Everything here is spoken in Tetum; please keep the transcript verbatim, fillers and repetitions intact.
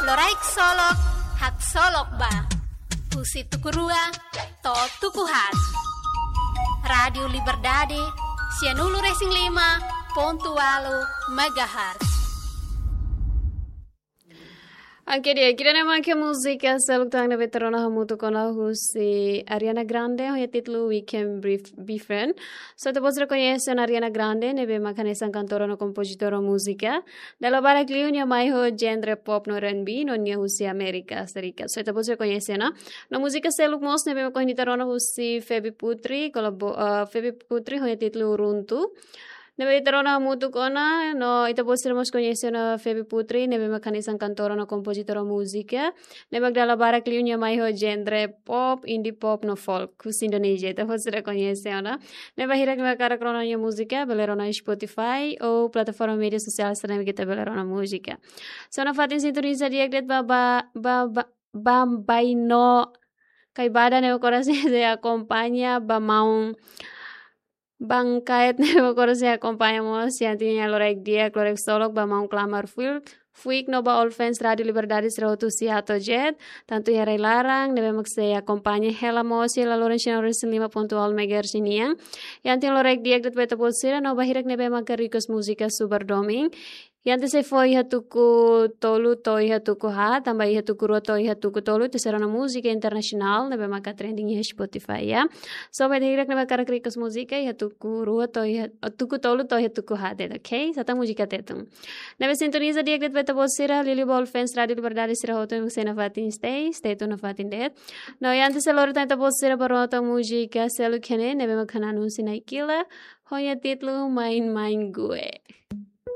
Loraik Solok, haksolok ba. Husi tuku rua to'o tuku haat. Rádiu Liberdade, sianulu-resin-lima pontu ualu megahertz. Oke, di'ak, ida-ne'e mak múzika seluk tan ne'ebé ita rona hamutuk ona husi Ariana Grande, ho nia títulu We Can Be, Be Friend. So, ita-boot sira koñese ona Ariana Grande, ne'ebé mak hanesan kantora no kompozitora múzika. Dala barak liu nia mai ho genre pop no R and B, no nia husi Amérika Serikat. So, ita-boot sira koñese ona. No múzika seluk mós ne'ebé mak ohin ita rona husi Feby Putri, kolabo-, eh, Feby Putri ho nia títulu Runtu. Ne'ebé ita rona hamutuk ona, no ita-boot sira mós koñese ona Feby Putri, ne'ebé mak hanesan kantora no kompozitora múzika. Ne'ebé mak dala barak liu nia mai ho genre pop, indie pop no folk husi Indonézia. Ita-boot sira koñese ona. Ne'ebé hirak ne'ebé hakarak rona nia múzika, bele rona Spotify ou plataforma média sosiál sira ne'ebé ita bele rona múzika. So, nafatin sintoniza di'ak de'it ba, ba, ba, ba, Bambaino Kaibada ne'ebé mak oras ne'e sei akompaña, ba maun Bang Kaet ne'ebé mak oras ne'e sei akompaña mós, iha ita-nia loraik di'ak, loraik solok, ba maun Klamar Fuik, Fuik no ba all fans Rádiu Liberdade sira hotu husi Ato Jet, tantu iha rai-laran, ne'ebé mak sei akompaña hela mós iha laloran sianulu-resin-lima pontu ualu megahertz nian. Iha ita-nia loraik di'ak de'it ba ita-boot sira, no ba hirak ne'ebé mak request múzika Subar Domin. Iha ita sei fó iha tuku tolu to'o iha tuku haat, tanba iha tuku rua to'o iha tuku tolu ita sei rona múzika internasionál ne'ebé maka trending iha Spotify, ya. So, ba ita hirak ne'ebé hakarak request múzika iha tuku rua to'o iha, tuku tolu to'o iha tuku haat de'it, oke? Sá tan múzika Tetun. Ne'ebé sintoniza di'ak de'it ba ita-boot sira, liuliu ba all fans Rádiu Liberdade sira hotu mak sei nafatin stay, stay tune nafatin de'it. No, iha ita sei lori tan ita-boot sira ba rona tan múzika seluk iha ne'e, ne'ebé mak hanan husi Naikila, ho nia títulu Main Main Gue.